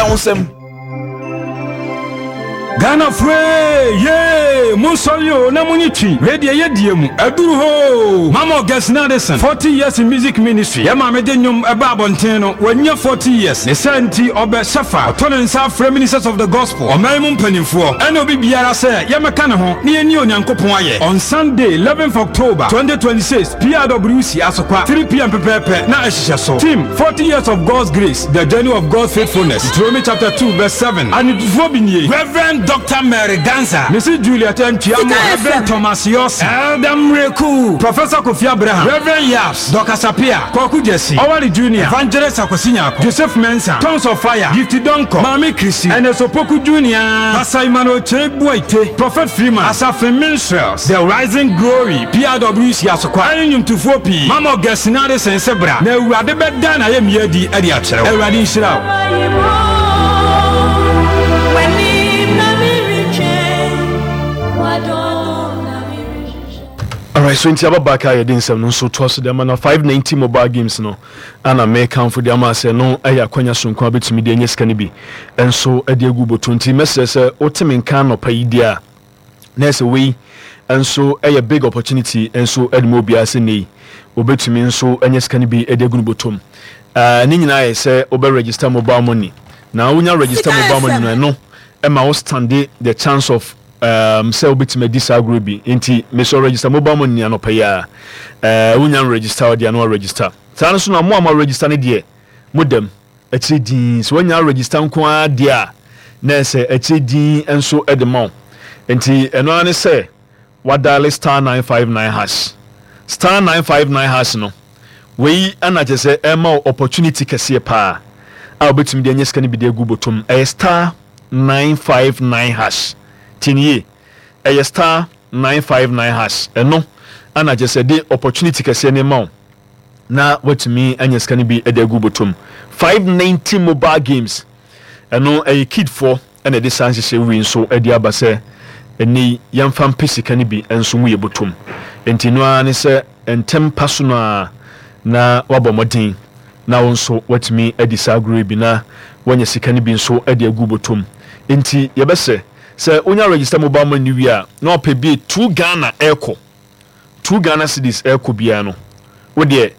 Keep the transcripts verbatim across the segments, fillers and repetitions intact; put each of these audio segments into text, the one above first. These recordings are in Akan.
Kura wo nsɛm. Ghana fure ye, monsɔre o na monye twi. Wei deɛ, yɛdie mu aduru hoo. Mama Augustine Addison, forty years in music ministry. Yɛ maame de nnwom ɛba abɔnten no, wanya forty years. Ne sɛ nti ɔbɛ hyɛfa ɔtɔ ne nsa afrɛ Ministers of the Gospel, ɔman mu mpanimfoɔ ɛne obi biara sɛ yɛmɛka ne ho ne yɛni Onyankopɔn ayɛ. On Sunday, eleventh October twenty twenty-six, P R W C Asokwa, three p m pɛpɛɛpɛ na ɛhyehyɛ so. Team forty years of God's grace, the journey of God's faithfulness, Deuteronomy chapter two verse seven. Anitufoɔ bi nie: Reverend Doctor Mary Gansa, Missus Juliet Ntuamo, Reverend Thomas Yossi, Elder Mreku, Professor Kofi Abraham, Reverend Yaps, Doctor Sapia, Kwaku Jesse, Owari Junior, Evangelist Akwasi Nyako, Joseph Mensah, Tongues of Fire, Gifty Donko, Maame Chrissy, Ernest Opoku Junior, Pastor Emmanuel Che Buaite, Prophet Freeman, Asafin Minstrels, The Rising Glory, P R W C Asokwa, ɛne nnwomtofoɔ pii. Mama Augustine Addison sɛ bra na Awurade bɛda na ayɛ mmea adi de akyerɛ wo. Awurade nhyira wo. W'anim na meretwɛn, w'adom na merehwehwɛ. Alright, so nti aba back a, yɛde nsɛm no nso toa so de ama. Na five ninety mobile games no ana mekamfo de ama sɛ no ɛyɛ akwanya sonko a bɛtumi de anya sika no bi ɛnso de agu bɔtɔ. Nti mɛsrɛ sɛ wote me nka anɔpa yi deɛ a, na ɛsɛ wei nso ɛyɛ big opportunity nso de ma obiara sɛ nei obɛtumi nso anya sika no bi de agu no bɔtɔm. uh, ne nyinaa yɛ sɛ wobɛ register mobile money, na wonya register Sika mobile money no, ɛno ɛma wo stand the chance of um, sɛ wobɛtumi adi saa agorɔ bi. Nti mesɛ register mobile money anɔpa yi a, uh, wonya register wo deɛ no register saa no so. Na mo a mo register no deɛ, modam akyire din sɛ woanya register nko ara deɛ a, na ɛsɛ akyire din nso de ma wo. Nti ɛno ara ne sɛ wadial star nine five nine hash, star nine five nine hash no. Wei ana kyerɛ sɛ ɛma wo opportunity kɛseɛ paa a wobɛtumi de anya sika no bi de agu bɔtɔm. Ɛyɛ star nine five nine hash. Tie, ɛyɛ star nine five nine hash. Ɛno ana kyerɛ sɛ de opportunity kɛseɛ ne ma wo na watumi anya sika no bi de agu bɔtɔm. five ninety mobile games, ɛno ɛyɛ kidfoɔ ɛna ɛde saa nhyehyɛ wei nso de aba sɛ ɛnɛ yi yɛmfa mpɛ sika no bi nso mu yɛ bɔtɔm. Nti no ara ne sɛ ntɛm pa so no a na wabɔ mmɔden na wo nso watumi adi saa agorɔ yi bi na wanya sika no bi nso de agu bɔtɔm. Nti yɛbɛsɛ sɛ wonya register mobile money wie a, na wapɛ bi two Ghana ɛrekɔ, two Ghana cedis ɛrekɔ biara no, wodeɛ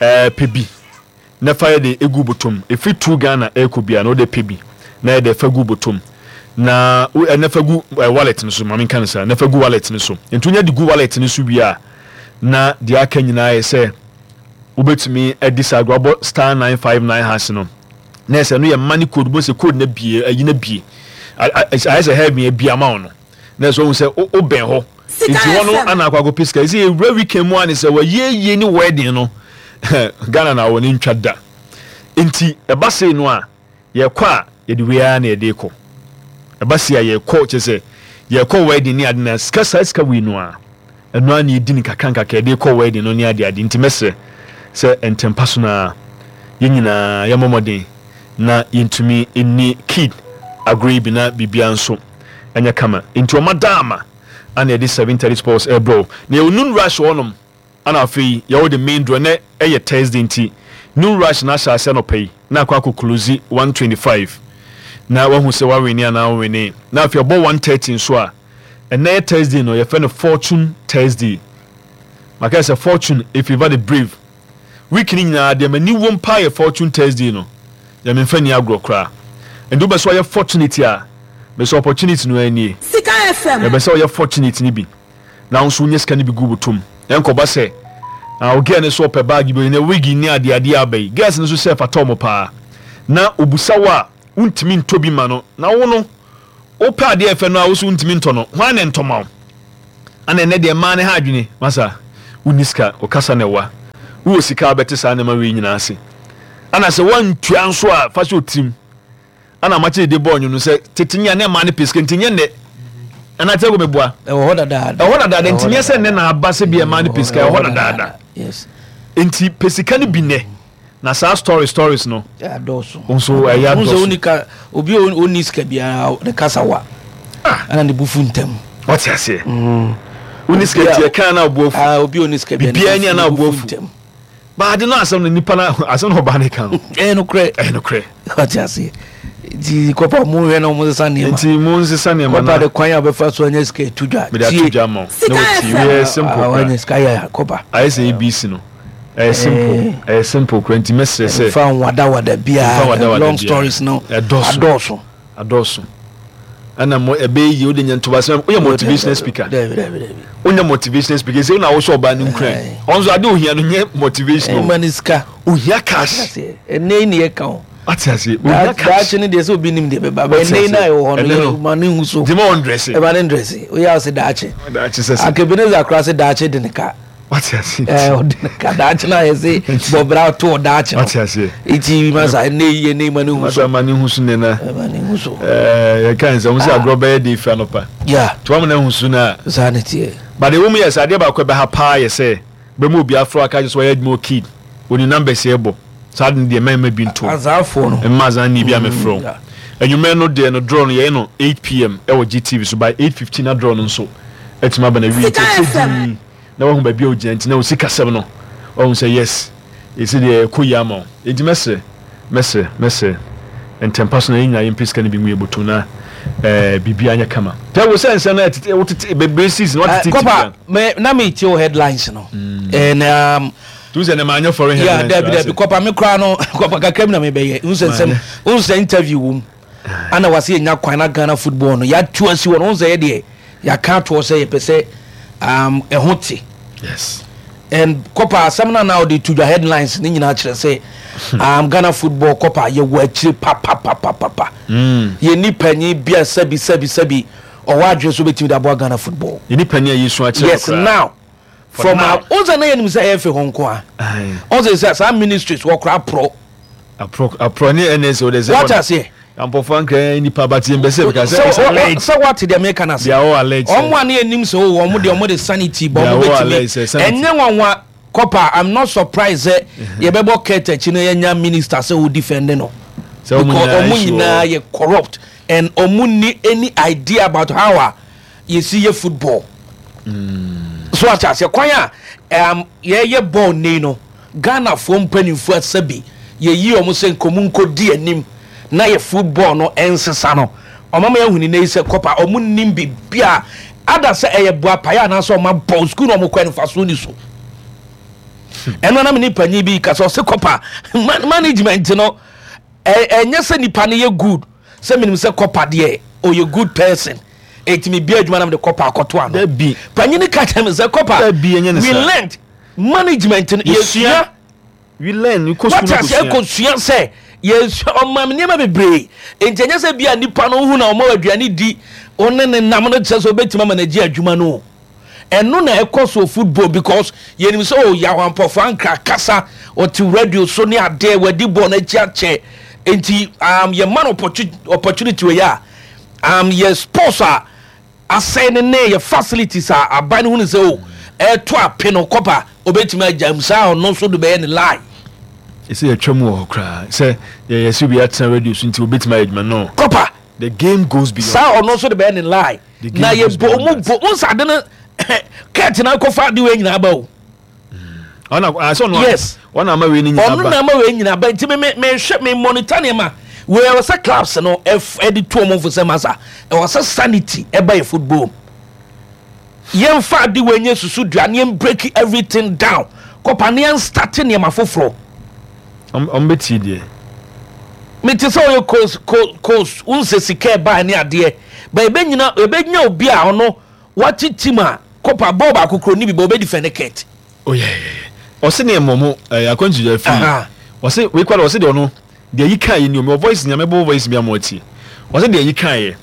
ɛɛ pɛ bi na fa yɛ de egu bɔtɔm. Efi two Ghana ɛrekɔ biara no, wode pɛ bi na yɛ de fa gu bɔtɔm na wo ɛna fa gu ɛ wallet no so. Maame nka no saa, na fa gu wallet no so. Nti wonya de gu wallet no so wie a, na deɛ aka nyinaa yɛ sɛ wobɛtumi adi saa agorɔ. Abɔ star nine five nine hash no, na ɛsɛ no yɛ money code bo sɛ code na bie ayi na bie ayɛ sɛ heaven abi ama wo no, na ɛsɛ ohun sɛ wobɛn hɔ. Sika nti hɔ no F M. Ana akɔ akɔpɛ sika ɛsɛ yɛwura weekend mu a ne sɛ wɔyie ne wedding no Ghana na wɔ ne ntwa da. Nti ɛba sei no a, yɛkɔ a yɛde wei ara na yɛde kɔ. Ɛba sei a, yɛkɔ kyɛ sɛ yɛkɔ wedding ne ade na sika, saa sika wei no a, ɛno ara na yɛdi ne kakra nkakra yɛde kɔ wedding no ne ade ade. Nti mɛsrɛ sɛ ntɛmpa so no a, yɛn nyinaa yɛmmɔ mmɔden na yɛntumi nni kid agorɔ yi bi na biribiara nso ɛnyɛ kama. Nti ɔma daama ana yɛde seven thirty sports ɛbrɛ na yɛwɔ noon rush hɔnom. Ana afei yɛwɔ the main draw. Nɛ ɛyɛ Thursday, nti noon rush na ahyɛ ase anɔpa yi na akɔ akɔ close one twenty-five na wahu sɛ wawene anaa wawene. Na afei ɔbɔ one thirty nso a, ɛnɛ yɛ Thursday no, yɛfrɛ no Fortune Thursday. Maka sɛ fortune efavour the brave. Week ni nyinaa deɛ, m'ani wɔ mpa yɛ Fortune Thursday no, yɛ memfa ni agorɔ koraa. Nti wobɛ sɛ ɔyɛ fortunate a, bɛ sɛ opportunity no anie. Sika F M. Yɛbɛ sɛ ɔyɛ fortunate ni bi na wo nso wonya sika no bi gu botom. Ɛnkɔba sɛ ah, o girl no so ɔpɛ bag bi na wig ne adeade aba yi, girls no nso sɛ fata ɔmo paa na obusa wo a, wontumi ntɔ bi ma no. Na wo no wopɛ adeɛ ɛfɛ no a, wo so wontumi ntɔ no, hwan ne ntɔma wo? Ana ɛnɛ deɛ mmaa ne ha adwene masa. Wonni sika, ɔkasa na ɛwa. Wowɔ sika a, wobɛte saa nneɛma wei nyinaa ase. Ana sɛ woantua nso a, fa hyɛ otirim. Ana makyɛ de bɔɔ nwom no sɛ tete nyɛ ne mmaa ne pɛ sika, nti nyɛ nnɛ ɛna tɛ ko meboa. Ɛwɔ hɔ dadaada. Ɛwɔ dadaada, nti nyɛ sɛ nnɛ na aba sɛ bi ɛmaa ne pɛ sika. Ɛwɔ hɔ dadaada. Yes nti pɛ sika no bi nnɛ na saa story stories no adɔɔso. Nso ɛyɛ Wo sɛ adɔɔso. woni ka obi a ɔnni sika biara ne kasa wa Ah. ɛna ne bufu ntɛm. Ɔte aseɛ, woni sika nti ɛka na ɔbo afu. Ah, obi a ɔnni sika biara ne Biribiara ni bufu- a na ne ɔbo bufu afu. ntɛm. Baade no, asɛm no nipa no, asɛm no ɔbaa ne ka no. Ɛyɛ nokorɛ. Ɛyɛ nokorɛ. Ɔte aseɛ. Nti kɔpa mo hwɛ na ɔmo sesa nneɛma. Nti mo nsesa nneɛma na kɔpa de kwan a bɛfa so anya sika etu dwa. Mede ato dwa ma wo na wɔti yɛ simple kora. Wanya sika yɛ kɔpa. Ayɛ sɛ A B C no, ɛyɛ simple, ɛyɛ simple kora, nti mɛsrɛ sɛ fa wadawada biara, long stories no. Ɛdɔɔso. Adɔɔso. Adɔɔso, ɛna mo ɛbɛyɛ yie. Wode nya ntobasɛm, woyɛ motivational speaker, wonya motivational speaker sɛ wona wosɛ ɔbaa no nkura ɔno nso ade ohia no nyɛ motivation. Ɛma ne sika. Ohia cash. Ɛnɛ yi ne yɛ ka o. Ate ase, ohia cash. Daakye no deɛ, sɛ obi nim deɛ bɛba bɛ, ɛnɛ yi na ɛwɔ hɔ no, ma ne hu so. Gyema wɔn dresse. Ɛma ne dresse, oyɛ ɔsɛ daakye. Daakye sɛ sɛ Akabenezer kora sɛ daakye de ne ka. Wate ase. Ɛɛ, ɔde ne ka daakye na ayɛ sɛ bɔbra to daakye no. Wate ase. Eti masa, ɛnɛ yi, ɛnɛ yi, ma ne hu so. Masa, ma ne hu so nena. Ma ne hu so. Ɛɛ, yɛka nsɛm sɛ agorɔ bɛyɛ de efi anɔpa. Ya. Tí wɔn na hu so na. Saa ne teɛ. But ewu mu yɛ sɛ adeɛ baako ɛbɛha paa yɛ sɛ bɛmu obi afro aka kyerɛ sɛ wɔyɛ adwuma okid oni numbers yɛ bɔ saa de deɛ mɛmɛ bi nto. Azaafoɔ no. Mma azan ni bi a mɛfrɛ wo enwumɛ no deɛ no, draw no yɛyɛ no eight p m ɛwɔ G T V so. By eight fifteen na draw no nso ɛtumi aba na wie, nti ɛkyɛ dii na wahu baabi a ogyina, nti na osi kasɛm no wahu sɛ yes, esi deɛ ɛkɔ yi ama wo. Nti mɛsrɛ, mɛsrɛ, mɛsrɛ ntɛmpa so na yɛn nyinaa yɛmpɛ sika no bi ngu yɛ bɔtɔ na ɛɛ biribi anyɛ kama tɛ wo sɛ nsɛm na ɛtete wotete bebree season watete. Kɔpa mɛ na mi tie o headlines no and um, Tu sɛ ne maa nyɛ foreign yeah headlines. Dabi, dabi, kɔpa, mi kora no, kɔpa kakra mi na mi bɛyɛ nsɛ nsɛm nsɛ interview wom ana wase yɛ nya kwan na Ghana football no yɛatu asi wɔ no nsɛ yɛ deɛ yɛaka atoɔ sɛ yɛpɛ sɛ um, ɛho te. Yes and kɔpa, asɛm no na ɔde to dwa, headlines ne nyinaa kyerɛ sɛ um, Ghana football, kɔpa, yɛwɔ akyire papapapapa. mm. Yɛni panyin bia sɛbi sɛbi sɛbi ɔwɔ adwene so bɛtumi de aboa Ghana football. Yɛni panyin a yɛsu akyerɛ. Yes, now For from now. our ɔnsɛ na yɛnim sɛ ɛyɛ fɛ hɔ nko a ɔnsɛ sɛ saa ministries wɔkora aporɔ. Aprɔ aprɔ ne N S O de sɛ Wate aseɛ. Ampɔfo ankra nipa ba tie mbɛsɛ because sɛ it's alleged. Sɛ wate deɛ meka no ase. They are all alleged. Ɔmo a ne yɛnim sɛ o ɔmo deɛ ɔmo de sanity bɔ They are ɔmo all bɛtumi alleged sɛ sanity. Ɛnyɛ nwanwa, kɔpa, I'm not surprised sɛ yɛbɛbɔ kɛt akyi no yɛnya minister sɛ o defend no. Sɛ ɔmo because nyinaa ɔmo issue nyinaa wɔ- yɛ corrupt and ɔmo ni any idea about how a yɛsi yɛ football so. Ate aseɛ, kwan a um, yɛyɛ ball nei no, Ghanafoɔ mpanimfoɔ asɛbi yɛyi ɔmo sɛ nkɔmu nkɔdi anim na yɛ football no ɛnsesa no, ɔmo ama yɛhu ne yi sɛ kɔpa ɔmo nim biribi a ada sɛ ɛyɛ boapaeɛ anaasɛ ɔmo abɔ sukuu na ɔmo kɔ ɛnfaso ni so. Ɛno anam ne panyin bi kasa, ɔsɛ kɔpa man management no ɛ ɛnyɛ sɛ nipa no yɛ good, sɛ menim sɛ kɔpa deɛ ɔyɛ good person, ɛtumi bia adwuma nam de kɔpa akɔto ano. Dabi. Panyin ka kyerɛ me sɛ kɔpa Dabi, ɛnyɛ ne we saa. learned management no. Yɛsua. Yɛsua. We learn, we kɔ wate school. ase, ɛkɔsua sɛ yɛsua ɔma me nneɛma bebree, nti ɛnyɛ sɛ bia nipa no hu na ɔma aduane di, ɔne ne nam no kyerɛ sɛ ɔbɛtumi ama n'agye adwuma no o. Ɛno na ɛkɔ so football because yɛnim sɛ o Yaw Ampɔfo Ankra kasa, ɔte radio so ne adeɛ, wadi bɔɔl n'akyi akyɛ, nti um, yɛma no opportu- opportunity wɔ yɛ a um, yɛ sports a asɛe ne ne yɛ facilities a aban no hu ne sɛ o ɛɛto ape no, kɔpa obɛtumi agya mu saa, ɔno nso de bɛyɛ ne lie. Ɛsɛ yɛtwa mu wɔ hɔ koraa sɛ yɛyɛ sɛ obi atena radio so nti obɛtumi ayɛ adwuma no. Kɔpa The game goes beyond. Saa ɔno nso de bɛyɛ ne lie. The game Na goes yɛ bo beyond ɔmo that. bo nsa ade no kɛɛte na akɔfa ade wei nyinaa ba o. Ɔna asɛ ɔno. Yes. Ɔna ama wei ni nyinaa Ɔno ba. na ama wei nyinaa ba, nti me me mehwɛ me monitor nneɛma wei. Ɛwɔ sɛ clubs no ɛf ɛde tu ɔmo fo sɛ masa, ɛwɔ sɛ sanity ɛba yɛ football mu. Yɛmfa ade wei nye susu dua ne yɛn break everything down, kɔpa, ne yɛn start nneɛma foforɔ. Ɔm ɔm bɛtie deɛ. Mete sɛ ɔyɛ coach coach coach nsɛ sika ɛbaa ne adeɛ ba, ebɛnyina ebɛnya obi a ɔno wate team a kɔpa bɔɔl baako kuro ni bi ba ɔbɛ defend kɛt. Oh yeah, yeah, yeah. Ɔse ne ɛmɔ mo ɛyɛ akwantu fi. Aha. Ɔse wei kwara, ɔse deɛ ɔno deɛ yi kan yɛ ni omi ɔ voice nyame bɔ voice bi ama ɔtie. Ɔse deɛ yi kan yɛ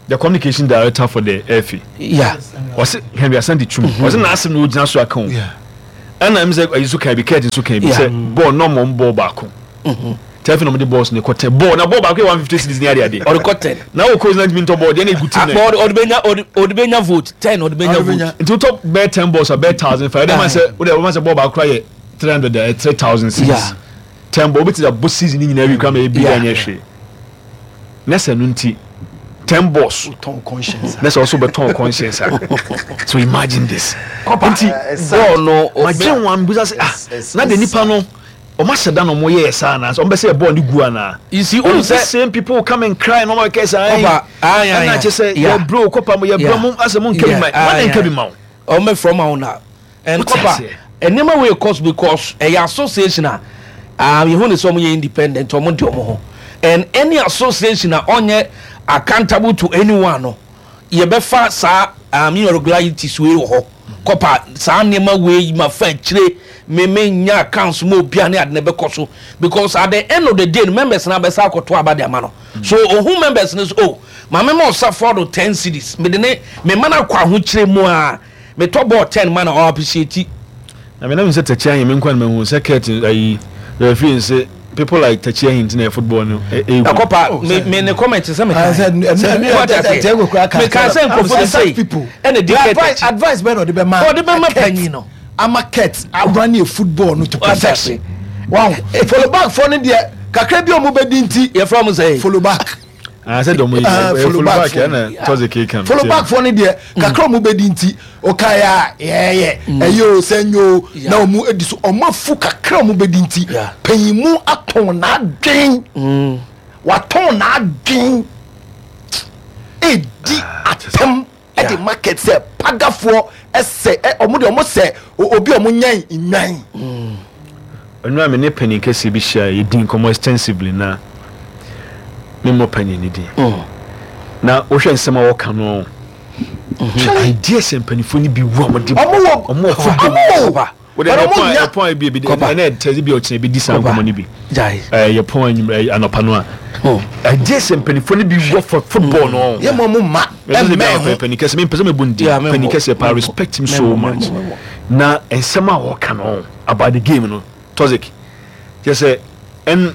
the communication director for the F A. Yeah ɔse Henry Asante Twum, ɔse n'asɛm na ogyina so aka o. Ɛna ɛm sɛ ɛyi so kan bi, kɛɛti nso kan bi sɛ bɔɔl nɔɔmɔ bɔɔl baako tɛfi na ɔmo de bɔɔl ne kɔ ten bɔɔl na bɔɔl baako yɛ one fifty cedis ne ade ade. Ɔde kɔ ten. Na wo coach na ntumi ntɔ bɔɔl deɛ na egu team. Akpɔ na ɔde ɔde bɛnya ɔde ɔde bɛnya vote ten, ɔde bɛnya Ɔde vote. bɛnya. Nti wotɔ bɛyɛ ten balls a, bɛyɛ thousand five ɛdɛ ma sɛ wode wɔma sɛ bɔɔl baako kora yɛ three hundred ɛ three thousand cedis. Yeah. Ten ball wobɛtumi abɔ season ne nyinaa wi kora ma ebi Yeah. anyɛ hwee ne sɛ no, nti ten balls tɔn conscience. Ne sɛ ɔso bɛtɔn conscience a, so imagine this. Kɔpa nti bɔɔl no magye wɔn abusa sɛ ah It's- na de it's nipa no Ɔmo ahyɛ da na ɔmo yɛ saa anaa ɔmo bɛ sɛ ɛbɔɔl ne gu anaa? You see, ɔmo ohun sɛ sɛ same people come and cry na ɔmo kɛ sɛ ayi Kɔpa, ayi, ayi, ɛna kyɛ sɛ yeah. yɛ bro kɔpa mo yɛ bro Yeah. mo asɛ mo nka bi ma Yeah, wɔn ayi, nka bi ayi. ma wo. Ɔmo bɛ ma wo na and Wote kɔpa, aseɛ? Nneɛma wei cost because ɛyɛ association a um, yehu ne sɛ ɔmo yɛ independent, ɔmo di ɔmo ho, and any association a ɔnyɛ accountable to anyone no, yɛbɛfa saa um, irregularities wei wɔ hɔ. Kɔpa, saa nneɛma wei ma fa akyire meme nya accounts mu obia ne ade ne bɛkɔ so, because at the end of the day no, members na bɛsa akɔto aba de ama no. So ohun members no so, oh, maame ma ɔsa fɔdo ten cedis, mede ne mema no akɔ ahokyere mu a metɔ bɔɔl ten ma na ɔ appreciate. Na mena mi sɛ Takyi Ahin, mi nkwa na mehu sɛ Kurt ayi referee nse people like Takyi Ahin ntina football no ɛ ɛ Ɛkɔpa, me me ne comment sɛ meka Ah, sɛ- ɛnu- ɛnu- What I say? ɛnu- ɛnu- ɛnu- Meka sɛ nkurɔfoɔ bi Such sei people. ɛna di The Kurt advice akyi. Advice bɛn na ɔde bɛ ma Ɔde bɛ ma Kurt? panyin no. Ama Kurt awura ne football no to What I perfection. say? Wow, follow back fɔ ne deɛ kakra bi a ɔmo bɛ di nti. Yɛfrɛ mo sɛ Follow back. Ah, sɛ dɔm yi Ah, ɛ follow follow back back fo. ɛna tɔze keeka no. Follow back fɔ ne deɛ kakra ɔmo bɛ di nti ɔka yɛ a yɛyɛ ɛyɛ o sɛ nye o Yeah. na ɔmo edi so ɔmo afu kakra ɔmo bɛ di nti Yeah. panyin atɔn n'adwen, watɔn n'adwen edi atɛm ɛde Yeah. market sɛ pagafoɔ ɛsɛ ɛ ɔmo deɛ ɔmo sɛ o- obi a ɔmo nyɛn nwan. Ɛnu a me ne panyin kɛseɛ bi hyia, yɛdi nkɔmmɔ extensively na memmɔ panyin ne din na wohwɛ nsɛm a wɔka no, ideas mpanimfoɔ no bi wu a wɔde Ɔmo wɔ ɔmo wɔ football. Ɔmo wɔ Kɔpa. Wode But ɔmo yɛpɔn nya- yɛpɔn bi bi Kɔpa. ɛnɛ tɛsi bi a ɔkyerɛ bi di saa Kɔpa. nkɔmmɔ no bi. Gyae. Ɛɛ yɛpɔn anwummerɛ anɔpa no a Oh. ideas mpanimfoɔ no bi wɔ for football no. Yɛ mo ɔmo ma ɛmɛ ɛmɛ ho. Panyin kɛseɛ, mempɛ sɛ mebɔ ne din. Yeah, memmɔ. Panyin kɛseɛ paa, Memmɔ. respect him so Memmɔ, much. memmɔ, memmɔ. Na nsɛm a wɔka no about the game no, toxic kyɛ sɛ ɛn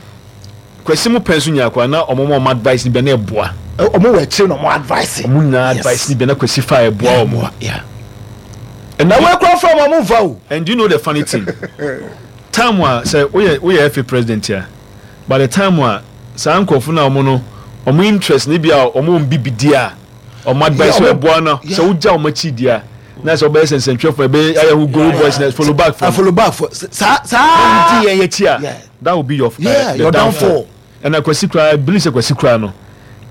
Kwasi mu pɛn so nya akwa na ɔmo ma ɔmo advice ni bɛ na ɛboa. Ɛ, ɔmo wɔ akyire na ɔmo advice. Ɔmo nyinaa Yes. advice ni bɛ na Kwasi fa ɛboa ɔmo. Yeah. And Na wɔn ekura fún ɔmo, ɔmo nfa o. And do you know the funny thing? Time a sɛ woyɛ woyɛ F A president a, by the time a saa nkurɔfo na ɔmo no ɔmo interest ni bi a ɔmo n bibi di a ɔmo advice Yeah, wɔ ɔmo- ɛboa no yeah. sɛ wogya ɔmo akyi di a na sɛ ɔbɛyɛ sɛnsɛntwerɛfo ɛbɛyɛ ayɛ ho goal boys na follow back A from follow back for saa saa. di yɛn yɛ akyi a, Yeah. that will be your Yeah, uh, the your downfall. Ɛna Kwasi kura, I believe sɛ Kwasi kura no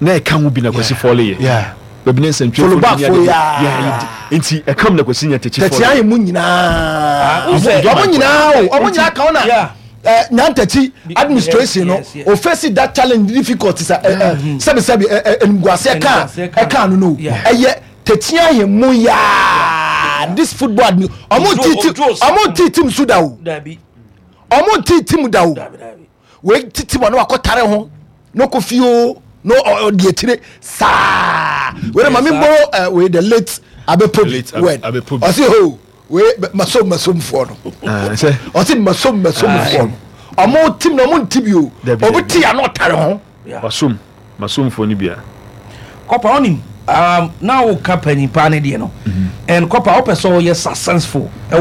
na ɛka ho bi na Kwasi fɔle yɛ Yeah. baabi ne nsɛntwerɛfo Follow back ne for ade- ya. Yeah, nti ɛka mu na Kwasi nya Takyi Tɛkyi fɔle. ayɛ mu nyinaa. Wo sɛ- Ɔmo nyinaa o, ɔmo nyinaa ka ho na Yeah. ɛ Nyantakyi administration no yes, yes. o face that challenge difficult sa ɛ ɛ sɛbi sɛbi ɛ ɛ eniguase ɛka Eniguase ka. ɛka no no Yeah. ɛyɛ Tɛkyi ayɛ mu yaa this football admin ɔmo Ojo- ti ti Ojo- ɔmo ti team su da o. Dabi. Ɔmo ti team da o. Dabi, dabi. Wei titi ma no wakɔ tare ho no kɔ fie o no ɔ- ɔdi akyire saa wei na maame saa. mbɔ ɛ wei the late Abepobi Late Abe- word. Abepobi. Ɔsi ho wei bɛ- masom masomfoɔ no. Ah, sɛ Ɔsi masom masomfoɔ no, ɔmo team na ɔmo nti bi o. Dabi, Obi dabi. ti ano ɔtare ho. Yeah. Masom masomfoɔ no bia. Kɔpa, ɔnim um, na woka panyin paa ne deɛ no, and kɔpa, wopɛ sɛ ɔyɛ successful.